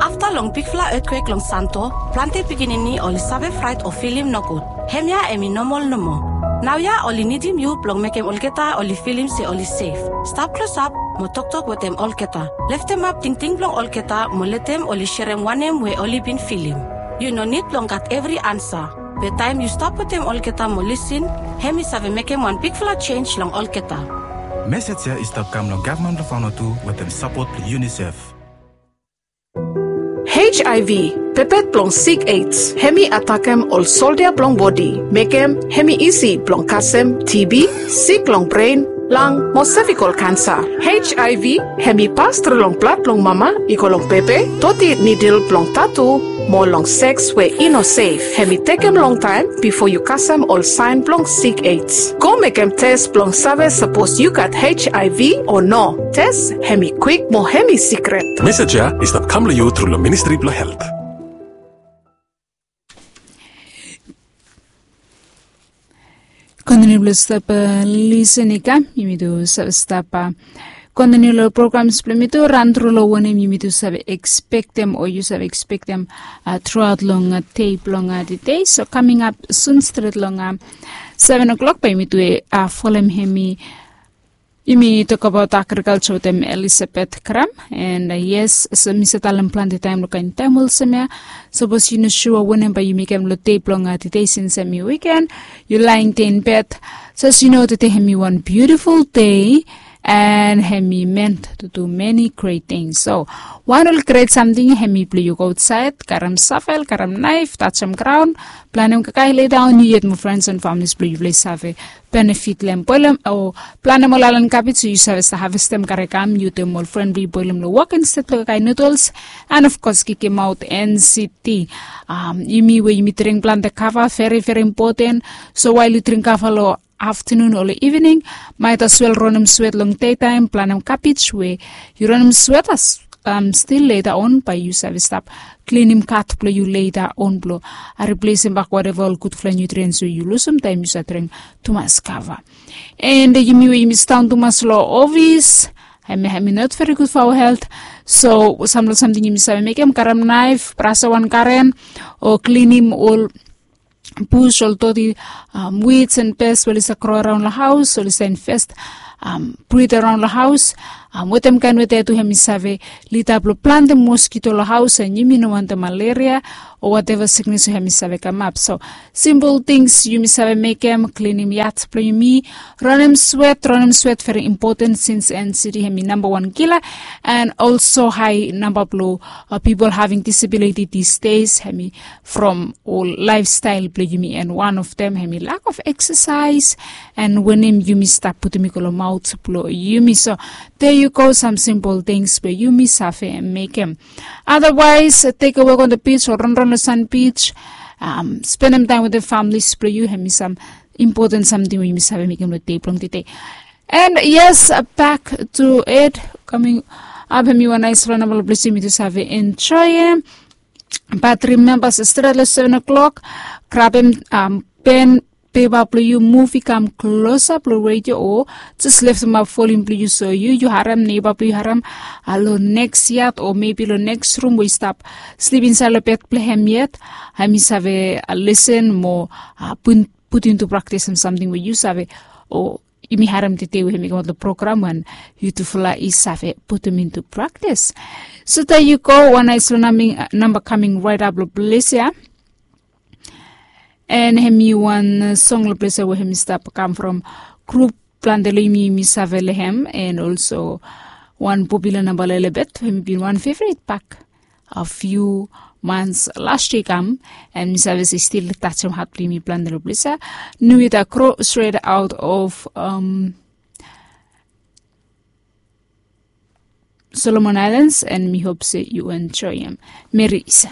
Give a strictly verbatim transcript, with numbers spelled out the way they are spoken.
Afta long bigfala etkwek long Santo, plante pikinini oli save fraet o filim nogud. Hemia em i nomol nomo. Naoia oli nidim yu blong mekem olgeta oli filim se oli sef. Stap klosap mo toktok wetem olgeta. Leftemap tingting blong olgeta mo letem oli serem wanem we oli bin filim. Yu no nid blong gat evri ansa. Be taem yu stap wetem olgeta mo lisin, hem i save mekem wan bigfala jenj long olgeta. Mesej ya i stap kam long gavman blong Vanuatu wetem sapot blong UNICEF. HIV, pepet blong sik AIDS, hem i atakem ol soldia blong bodi, mekem hem i isi blong kasem TB, sik long bren, lang mo sevikol kansa. HIV hem i pas tru long blad blong mama i go long bebe, doti nidil blong tatu, mo long seks we i no sef. Hem i tekem longtaem bifo yu kasem ol saen blong sik AIDS. Go mekem tes blong save sapos yu gat HIV o no. Tes hem i kwik mo hem i sikret. Mesej ya i stap kam long yu tru long Ministri blong Helt. Kontiniu blong stap lisen i kam, yumi tu save stap kontiniu long programs blong yumi tu, ran tru long wanem yumi tu save ekspektem o yu save ekspektem truaot long dei blong tede. So kaming ap sun stret long seven o'clock bae yumi tu folem hemi Yumi tokbaot agrikalja wetem Elizabeth Kram. And yes, so mi save talem plante taem long kaen taem olsem ya, sapos yu no sua wanem bae yu mekem long dei blong tede, sins hemi wiken, yu laen dei in bed, jes yu no tede hemi wan biutiful dei, and hemi ment tu du meni gret tings. So wan ol gret samting hemi blong yu go aotsaed, karem savel, karem naef, tajem graon, planem kakae, ledaon yu yet mo frens and familis blong yufala i save benefit long hem. Boelem o planem ol aelan kabej we yu save stap havestem, kare kam, yu wetem ol fren blong yu boelem long wok insted long kakae nudels, and of course kikemaot NCT. Yumi we yumi dring plante kava, veri veri impoten. So wael yu dring kava long aftenun o long ivening, maet aswel ranem swet long dei taem, planem kabej we yu ranem swet, as stil leta on bae yu save stap klinim kat blong yu leta on blong riplesem bak wateva ol gudfala nutriens we yu lusum taem yu save dring tumas kava. And yumi we yumi sidaon tumas long ofis, hemia hemi not veri gud fo aoa helt. So samfala samting yumi save mekem, karem naef, brasa wan garen, o klinim ol bus, ol doti, wits and pes we oli save gro araon long haos, oli save infest brid araon long haos. Wetem kaen weta ya tu hemi save lidap long plante moskito long haos, and yumi no wantem malaria o wateva siknes we hemi save kamap. So simpol tings yumi save mekem, klinim yad blong yumi, ranem swet. Ranem swet veri impoten sins NCT hemi namba wan kila, and olso hae namba blong pipol having disabiliti disdes hemi from ol laefstael blong yumi, and wan of dem hemi lak of eksasaes, and wanem yumi stap putum i go long maot blong yumi. So there you go, sam simpol tings we yumi save mekem. Otherwise, tekewe go on the beach o ranran long san beach, spendem taem wetem familis blong yu, hemi sam impoten samting we yumi save mekem long dei blong tede. And yes, back to it, kaming ap, hemi wan naesfala namba long ples yumi tu save enjoem. Bat rimemba se stret long seven o'clock, grabem pen pepa blong yu, muvi kam klosap long redio, o jes leftemap volim blong yu, so yu yu harem, neiba blong yu harem long neks yad o mebi long neks rum we i stap slip insaed long bed blong hem yet, hemi save lisen mo putum intu praktis sam samting we yu save o yumi harem tede we hemi kamaot long program, and yutufala i save putum intu praktis. So there you go, wan naesfala namba kaming raetap long ples ya. And hemi wan song long ples ya we hemi stap kam from grup plante long yumi, yumi save long hem, and olso wan popula namba long Elebet, hemi bin wan fevret bak a few months last year i kam, and mi save se i stil tajem hat blong yumi plante long ples ya. Nuita Kro, straight out of Solomon Islands, and mi hop se yu enjoem. Meri Isa.